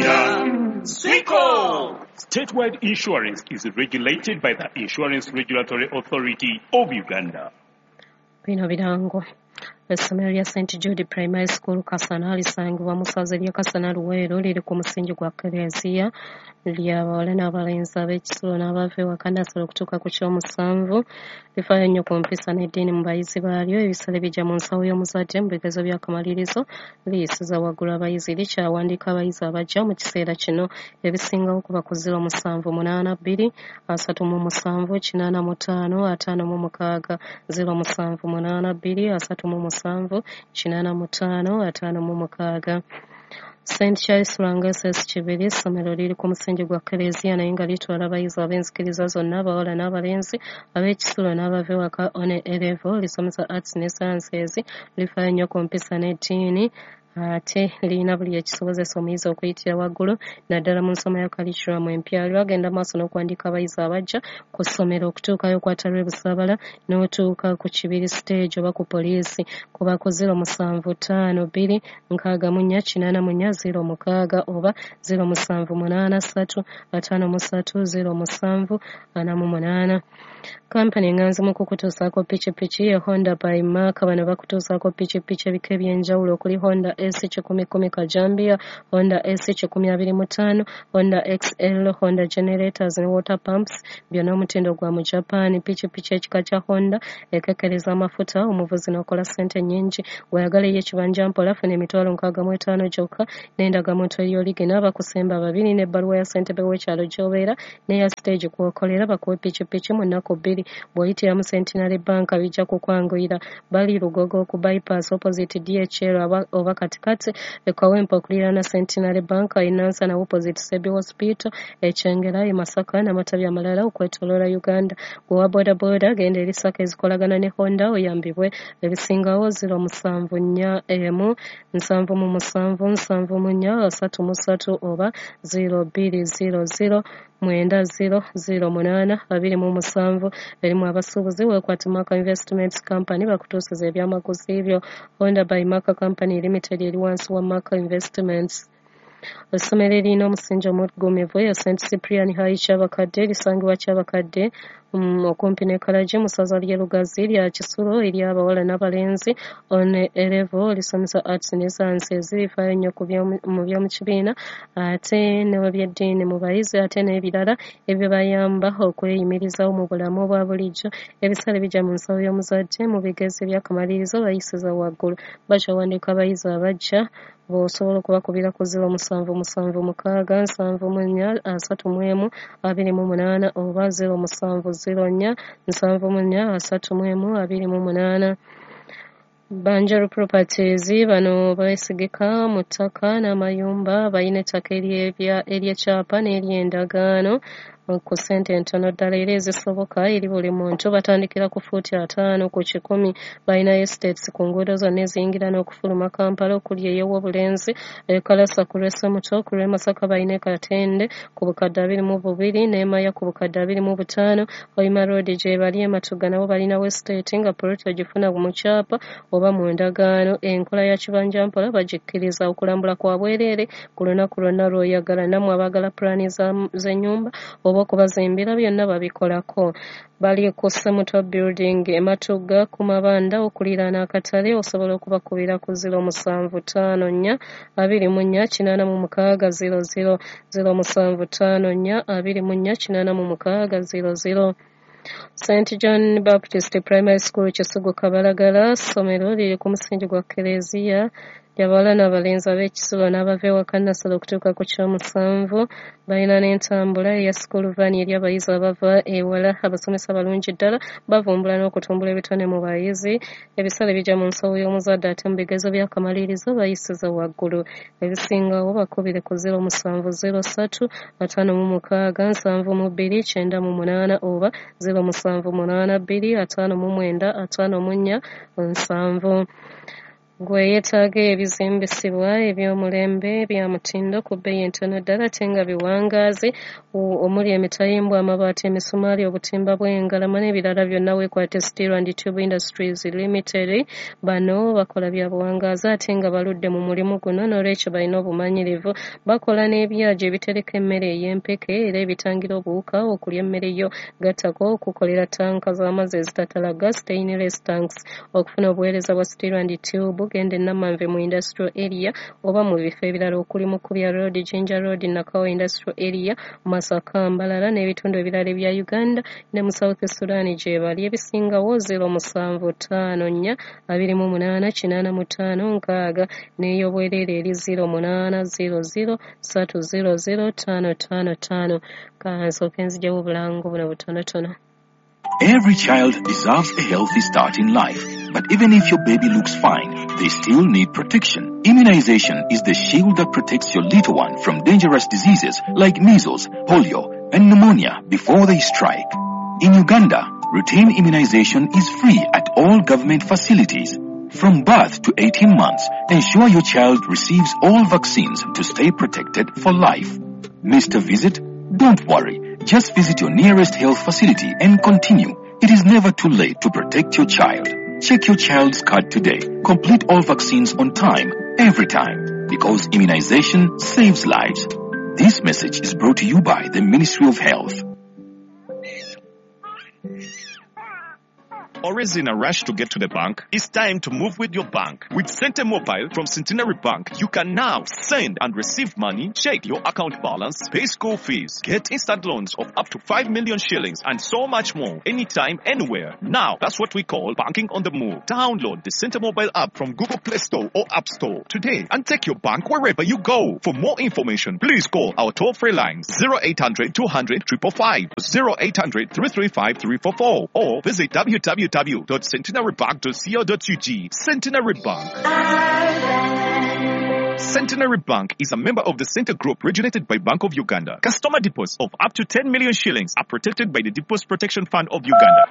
Mpulira Siko. Statewide Insurance is regulated by the Insurance Regulatory Authority of Uganda. Bino birango. Essomero lya St Jude Primary School Kasana lisangibwa mu ssaza ly'e Kasana Luweero, liri ku musingi gwa Kkereziya, lya bawala n'abalenzi ab'ekisulo n'abava ewaka nnassale okutuuka ku ky'omusanvu. Lifaayo nnyo ku mpisa n'eddiini mu bayizi baalyo. Ebisale bijja mu nsawo y'omuzadde. Mu bigezo by'akamalirizo liyisiza waggulu abayizi. Likyawandiika abayizi abajja mu kiseera kino. Ebisingawo kuba ku 0782 37 85 56, 0782 37 85 56. St Charles Lwanga SS Kibiri, essomero liri ku musingi gwa Kkereziya naye nga litwala abayizi ab'enzikiriza zonna, abawala n'abalenzi, ab'ekisulo n'abava ewaka. On A level lisomesa arts ne sciences, lifaayo nnyo ku mpisa n'eddiini, ate lirina buli ekisobozesa omuyizi okuyitira waggulu naddala mu nsoma ya curriculum empya. Lwagenda maaso n'okuwandiika abayizi abajja ku ssomero. Okutuukayo okwata lw'e Busaabala n'otuuka ku Kibiri stage oba ku poliisi, kuba ku 0752 64 84 06 oba 0783 53 07 48. Kampani enganzi mu kukutuusaako pikipiki ye Honda by Mark. Bano bakutuusaako pikipiki ebika eby'enjawulo okuli Honda S 110 Kajambiya, Honda S 125, Honda XL, Honda generators ne water pumps, byonna omutindo gwa mu Japan. Pikipiki ekika kya Honda ekekkereza amafuta, omuvuzi n'okola ssente nnyingi. Bw'oyagala ey'ekibanja mpola, funa 65,000 gyokka n'endagamuntu ey'oligina, bakusemba babiri n'ebbaluwa ya ssentebe w'ekyalo gy'obeera n'eya stage kw'okolera, bakuwe pikipiki mu nnaku 2. Bw'oyitira mu Centenary Bank bijja kukwanguyira. Bali Lugogo ku bypass opposite DHL oba katikati e Kawempe okuliraana Centenary Bank, e Nansana opposite Sebi Hospital, e Kyengera, e Masaka n'amatabi amalala okwetooloola Uganda. Gwe owa bodaboda, genda eri SACCO ezikolagana ne Honda oyambibwe. Ebisingawo 0741 77 74 33 oba 0200 90 08 27. Erimu abasuubuzi, weekwate Maka Investments Company bakutuusiza ebyamaguzi byo. Honda by Maka Company Limited eri wansi wa Maka Investments. Essomero eririna omusingi omuggumivu ya St Cyprian High Kyabakadde, lisangibwa Kyabakadde okumpi ne Kalagi mu ssaza ly'e Lugazi, lya kisulo eri abawala n'abalenzi. On A level lisomesa arts ne sciences, lifaayo nnyo mu by'omu kibiina ate n'ebyeddiini mu bayizi, ate n'ebirala ebibayamba okweyimirizaawo mu bulamu obwa bulijjo. Ebisale bijja mu nsawo y'omuzadde. Mu bigezo eby'akamalirizo bayisiza waggulu. Bakyawandiika abayizi abajja. Bw'osobola okubakubira ku 0776 74 31 28 oba 0704 74 31 28. Banjaro Properties, bano beesigika mu ttaka n'amayumba. Balina ettaka ery'ekyapa n'ery'endagaano ku ssente entono ddala era ezisoboka eri buli muntu. Batandikira ku fuuti 50 ku 100. Balina estates ku nguudo zonna eziyingira n'okufuluma Kampala okuli ey'Owobulenzi, e Kalasa ku lw'e Semuto, ku lw'e Masaka balina e Katende ku bukadde 22 n'e Maya ku bukadde 25. Hoima Road gye bali. E Matuga nabo balinawo estate nga poloti ogifuna mu kyapa oba mu ndagaano. Enkola ya kibanja mpola bagikkiriza. Okulambula kwa bwereere ku lunaku lwonna lw'oyagala. Nammwe abaagala pulaani z'ennyumba oba okubazimbira, byonna babikolako. Bali ku Semuto Building e Matuga ku Mabanda okuliraana akatale. Osobola okubakubira ku 0754 24 86 00, 0754 24 86 00. St John Baptist Primary School Kisugu Kabalagala, ssomero liri ku musingi gwa Kkereziya, ly'abawala n'abalenzi ab'ekisulo n'abava ewaka nnassale okutuuka ku ky'omusanvu. Balina n'entambula eya school van eri abayizi abava ewala. Abasomesa balungi ddala, bavumbula n'okutumbula ebitone mu bayizi. Ebisale bijja mu nsawo y'omuzadde, ate mu bigezo by'akamalirizo bayisiza waggulu. Ebisingawo bakubire ku 0703 56 72 98 oba 0782 59 54 70. Gwe yeetaaga ebizimbisibwa eby'omulembe bya mutindo ku bbeeyi entono ddala ate nga biwangaazi, omuli emitayimbwa, amabaati, emisumaali, obutimba bw'engalama n'ebirala byonna, weekwate Steel and Tube Industries Limited. Bano bakola bya buwangaazi ate nga baludde mu mulimu guno, n'olwekyo balina obumanyirivu. Bakola n'ebyajo ebitereka emmere ey'empeke era ebitangira obuwuka okulya emmere yo, gattako okukolera ttanka z'amazzi ezitatalaga, stainless tanks. Okufuna obuweereza bwa Steel and Tube, genda e Namanve mu Industrial Area oba mu bifo ebirala okuli Mukubya Road, Jinja Road, Nakawa Industrial Area, Masaka, Mbarara n'ebitundu ebirala ebya Uganda ne mu South Sudan gye bali. Ebisingawo 0754 28 85 6 n'ey'obwereere eri 0800 300 555. Kansooke nziggyewo obulango buno butonotono. Every child deserves a healthy start in life. But even if your baby looks fine, they still need protection. Immunization is the shield that protects your little one from dangerous diseases like measles, polio, and pneumonia before they strike. In Uganda, routine immunization is free at all government facilities. From birth to 18 months, ensure your child receives all vaccines to stay protected for life. Missed a visit? Don't worry. Just visit your nearest health facility and continue. It is never too late to protect your child. Check your child's card today. Complete all vaccines on time, every time. Because immunization saves lives. This message is brought to you by the Ministry of Health. Always in a rush to get to the bank? It's time to move with your bank. With Sente Mobile from Centenary Bank, you can now send and receive money, check your account balance, pay school fees, get instant loans of up to 5 million shillings, and so much more. Anytime, anywhere. Now, that's what we call banking on the move. Download the Sente Mobile app from Google Play Store or App Store today and take your bank wherever you go. For more information, please call our toll-free lines 0800 200 555, 0800 335 344, or visit www.centenarybank.co.ug. Centenary Bank. Centenary Bank is a member of the Center Group regulated by Bank of Uganda. Customer deposits of up to 10 million shillings are protected by the Deposit Protection Fund of Uganda.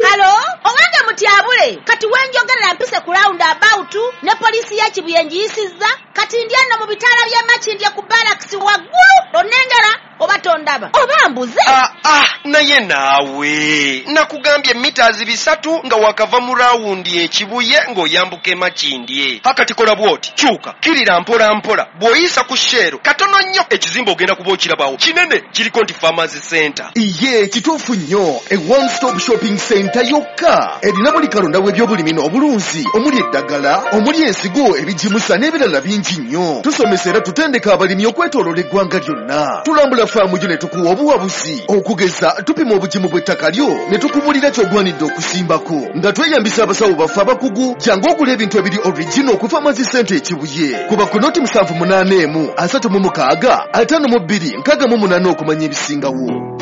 Halo, owange mutyabule, kati wenjogerera mpise ku round about ne poliisi ya Kibuye ngiyisizza, kati ndi ano mu bitaala by'e Makindye ku barracks waggulu, onnengera oba tondaba oba mbuze? Ah, ah, naye naawe nakugambye mita 300 nga wakava mu rawundi ekibuye ng'oyambuka e Makindye. Hakati kola bw'oti, kyuka kirira mpola mpola, bw'oyisa ku Shell katono nnyo ekizimbe ogenda kuba okirabawo kinene, kiriko nti Farmers Center. Iye kituufu nnyo, e one stop shopping center yokka erina buli kalonda w'ebyobulimi n'obulunzi, omuli eddagala, omuli ensigo, ebigimusa n'ebirala bingi nnyo. Tusomesa era tutendeka abalimi okwetooloola eggwanga lyonna. Tulambula faamu yo ne tukuwa obuwabuzi, okugeza tupima obugimu bw'ettaka lyo ne tukubulira ky'ogwanidde okusimbako nga tweyambisa abasawo baffe abakugu. Jangu ogula ebintu ebiri original ku Farmers Center ekibuye. Kuba ku 078 36 52 68 okumanya ebisingawo.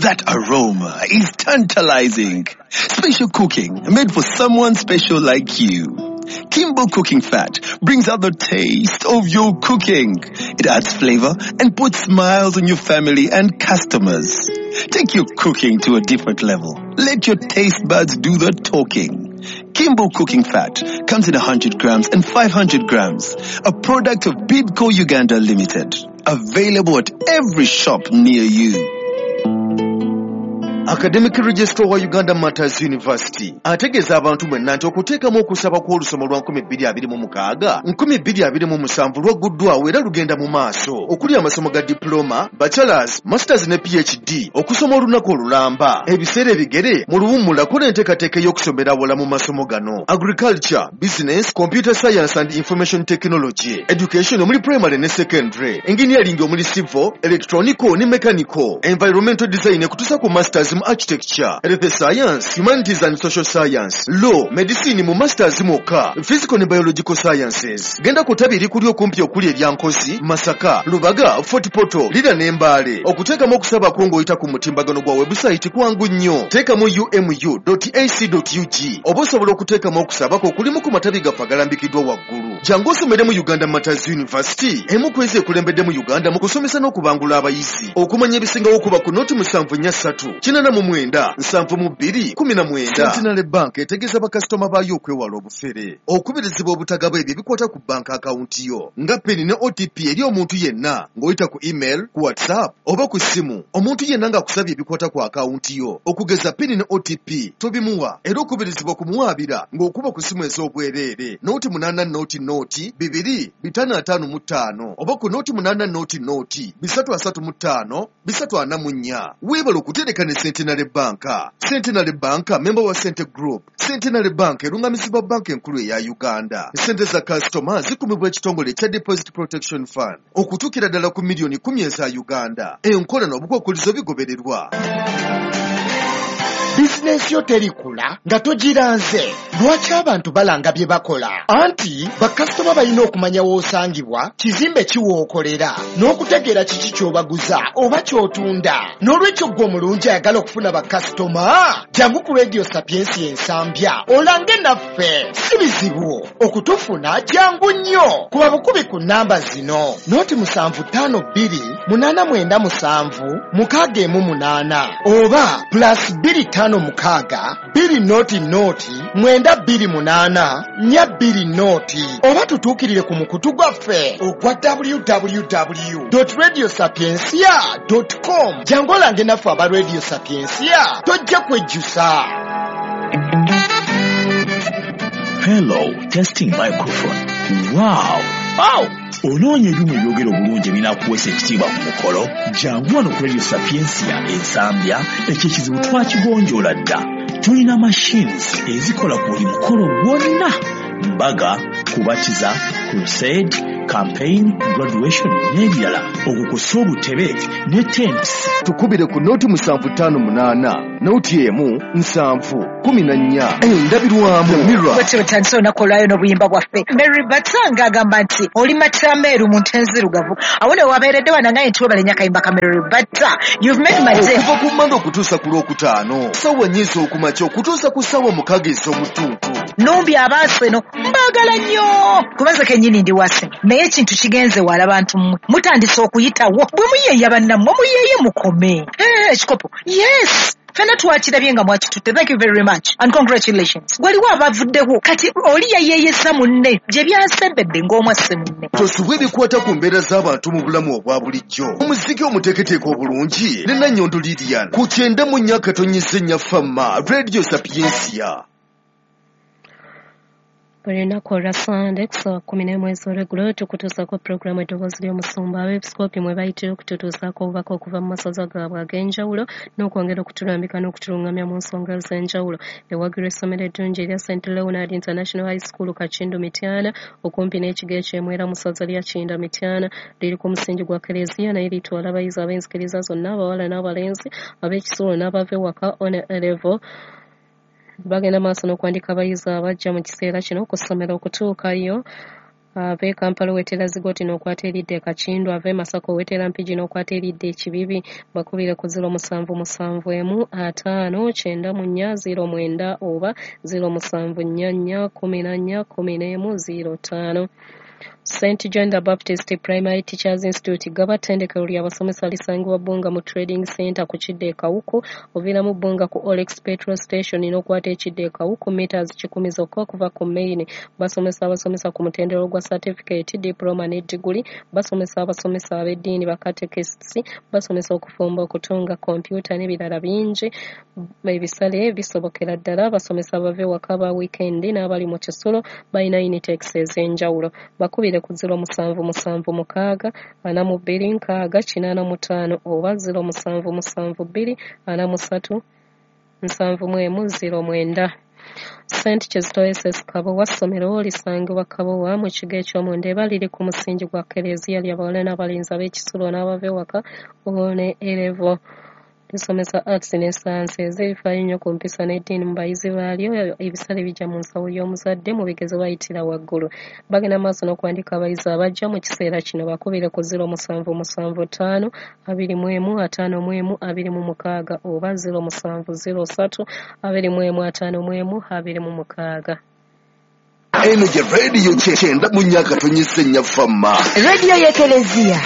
That aroma is tantalizing. Special cooking made for someone special like you. Kimbo Cooking Fat brings out the taste of your cooking. It adds flavor and puts smiles on your family and customers. Take your cooking to a different level. Let your taste buds do the talking. Kimbo Cooking Fat comes in 100 grams and 500 grams. A product of Bidco Uganda Limited. Available at every shop near you. Academic Registrar wa Uganda Martyrs University ategeeza abantu mwenna nti okuteekamu okusaba kw'olusoma lwa 2026 2027 lwagguddwawo era lugenda mu maaso, okuli amasomo ga diploma, bachelors, masters ne PhD, okusoma olunaku olulamba, ebiseera ebigere mu luwummula. Kola enteekateeka ey'okusomera awala mu masomo gano: agriculture, business, computer science and information technology, education omuli primary ne secondary, engineering omuli civil, electronical ne mechanical, environmental design ekutuusa ku masters mu architecture, health science, humanities and social science, law, medicine mu masters mwokka, physical ne biological sciences. Genda ku ttabi erikuli okumpi okuli erya Nkozi, Masaka, Lubaga, Fort Portal, Lira ne Mbale. Okuteekamu okusaba kwo ng'oyita ku mutimbagano gwa website kwangu nnyo. Teekamu umu.ac.ug oba osobola okuteekamu okusaba kwo okulimu ku matabi gaffe agalambikiddwa waggulu. Jangu osomere mu Uganda Martyrs University, emu ku ezo ekulembedde mu Uganda mu kusomesa n'okubangula abayizi. Okumanya ebisingawo kuba ku 073 89 72 19. Centenary Bank etegeeza bakasitoma baayo okwewala obufere, okubirizibwa obutagaba ebyo ebikwata ku banka akawunti yo nga PIN ne OTP eri omuntu yenna ng'oyita ku email, ku WhatsApp oba ku ssimu. Omuntu yenna ng'akusabye ebikwata ku akawunti yo okugeza PIN ne OTP tobimuwa, era okubirizibwa kumuwaabira ng'okuba ku ssimu ez'obwereere 08 00 2 555 oba ku 08 00 335 344. Weebale okutereka ne Centenary Bank. Centenary Bank member wa Sente Group. Centenary Bank erungamizibwa banka enkulu eya Uganda. Sente za kasitoma zikumibwa ekitongole ekya Deposit Protection Fund okutuukira ddala ku miliyoni 10 eza Uganda. Enkola n'obukwakkulizo bigobererwa. Bizinensi yo terikula nga togiranze. Lwaki abantu balanga bye bakola? Anti bakasitoma balina okumanya w'osangibwa, kizimbe ki w'okolera, n'okutegeera kiki ky'obaguza oba ky'otunda. N'olwekyo ggwe omulungi ayagala okufuna bakasitoma, jangu ku Radio Sapiensia Ensambya olange naffe. Si bizibu okutufuna, jangu nnyo. Kuba bukubi ku nnamba zino: 0752 897 618 oba +256 200 928 420, oba tutuukirire ku mukutu gwaffe ogwa www.radiosapiencia.com. Jangu olange naffe aba Radio Sapiencia, tojja kwejjusa. Hello, testing microphone. Wow! Wow! Onoonya ebyuma ebyogera obulungi ebinaakuweesa ekitiibwa ku mukolo? Jangu wano ku Radio Sapiencia Ensambya, ekyo ekizibu twakigonjoola dda. Tulina machines ezikola ku buli mukolo gwonna: mbaga, kubatiza, crusade, campaign, graduation n'ebirala, okukusa obutebe ne tents. Tukubire ku 0758 01 7 14. Endabirwamu Mirror. Bwetyo bwetandise olunaku olwayo n'obuyimba bwaffe. Mary Batanga agamba nti oli matameeru mu nte nzirugavu. Awo ne wabeeredde wanangaye nti webale nnyo akayimba ka Mary Bata. You've made my day. Okuva ku Mmande okutuusa ku Lwokutaano, ssaawa 4 ez'okumakya okutuusa ku ssaawa 6 ez'omutuntu. Numbi abaaseno mbaagala nnyo, kubanze kennyini ndi wase, naye ekintu kigenze wala bantu mmwe mutandise okuyitawo. Bwe muyeeya bannammwe muyeeye mukome. Ekikopo yes, fenna twakirabye nga mwakitutte. Thank you very much and congratulations. Waliwo abavuddewo kati oli yayeeyesa munne gye byasembedde ng'omwasse munne. Tosubwa ebikwata ku mbeera z'abantu mu bulamu obwa bulijjo. Omuziki omuteeketeeke obulungi ne Nannyondo Lilian ku 94.4 Fama Radio Sapiencia. Buli lunaku olwa Sande ku ssaawa 11 ez'olweggulo tukutuusaako pulogulaamu Eddoboozi ly'Omusumba. Abeepisikoopi mwe bayitira okututuusaako obubaka okuva mu masaza gaabwe ag'enjawulo n'okwongera okutulambika n'okutulungamya mu nsonga ez'enjawulo. Ewagirwa essomero eddungi erya St Leonard International High School Kakindu Mityana, okumpi n'ekigo eky'Emwera mu ssaza lya Kinda Mityana. Liri ku musingi gwa Kereziya naye litwala abayizi ab'enzikiriza zonna, abawala n'abalenzi, ab'ekisulo n'abava ewaka on A level. Bagenda maaso n'okuwandika abayizi abajja mu kiseera kino ku ssomero okutuukayo. Ave Kampala owetera Zigoti n'okwata eridda e Kakindu, ave Masaka owetera Mpigi n'okwata eridda e Kibibi. Bakubire ku 0771 594 09 oba 0744 14 11 05. St John the Baptist Primary Teachers Institute Gaba ttendekero ly'abasomesa lisangibwa Bbunga mu Trading Center ku kidda e Kawuku. Oviiramu Bbunga ku Olex Petrol Station n'okwata ekidda e Kawuku meters 100 zokka okuva ku main. Basomesa abasomesa ku mutendera gwa certificate, diploma ne diguli. Basomesa abasomesa ab'eddiini, ba catechists, basomesa okufumba, okutunga, kompyuta n'ebirala bingi. Ebisale bisobokera ddala. Basomesa abava ewaka ba weekend n'abali mu kisulo balina Unitex ez'enjawulo. Bakubire ku 0776 42 6 85 oba 0772 43 71 09. St Kizito SS Kabowa ssomero lisangibwa Kabowa mu kigo eky'Omundeeba, liri ku musingi gwa Kereziya, ly'abawala n'abalenzi ab'ekisulo n'abava ewaka ne A level. Lisomesa arts ne sciences, ebifaayo nnyo ku mpisa n'eddiini mu bayizi baalyo. Ebisale bijja mu nsawo y'omuzadde, mu bigezo bayitira waggulu. Bagenda maaso n'okuwandika abayizi abajja mu kiseera kino. Bakubire ku 0775 21 51 26 oba 0703 21 51 26. Eno gye rediyo 94.4 Fama. Rediyo y'Ekereziya.